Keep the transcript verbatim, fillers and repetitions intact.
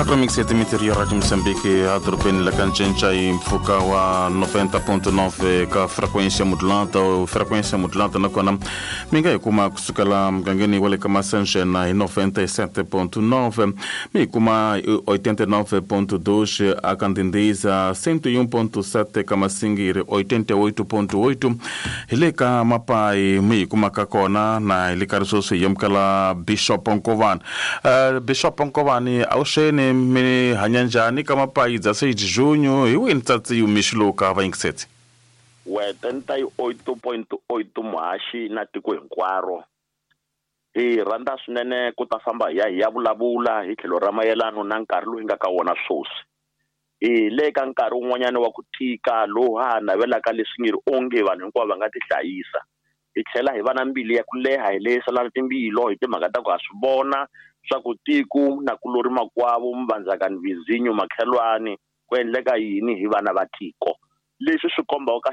Akromixete Interior Rádio Moçambique a dorobeni la ka ncinca hi mpfhuka wa noventa ponto nove ka frequência modulada, frequência modulada, nakona mi nga hi kuma kusukela mugangeni wa le ka Masanjena hi noventa e sete ponto nove, mi hi kuma hi oitenta e nove ponto dois aka Ndindiza, cento e um ponto sete ka Masingiri, oitenta e oito ponto oito hi le ka Mapayi mi hi kumaka kona, na hi le ka ri sweswi hi amukela Bishop Nkovani. uh, Bishop Nkovani, avuxeni, mi hanya njhani ka Mapayi dezesseis de junho hi wini tsatsi mixo lowu ka vayingiseti? We twenty-eight point eight muhaxi na tiko hinkwaro, hi rhandza swinene ku ta famba hi ya hi ya vulavula hi tlhelo ra mayelano na nkarhi lowu hi nga ka wona sweswi. Hi le ka nkarhi wun'wanyana wa ku tika lowu ha ha navelaka leswi nge ri onge vanhu hinkwavo va nga tihlayisa, hi tlhela hi va na mbilu ya ku leha, hi lehiselana timbilo hi timhaka ta ku ha swi vona swa ku tiko na kulori makwavo mvandzakani vizinyo makhelwani ku endleka yini hi vana va tiko, leswi swi kombaka.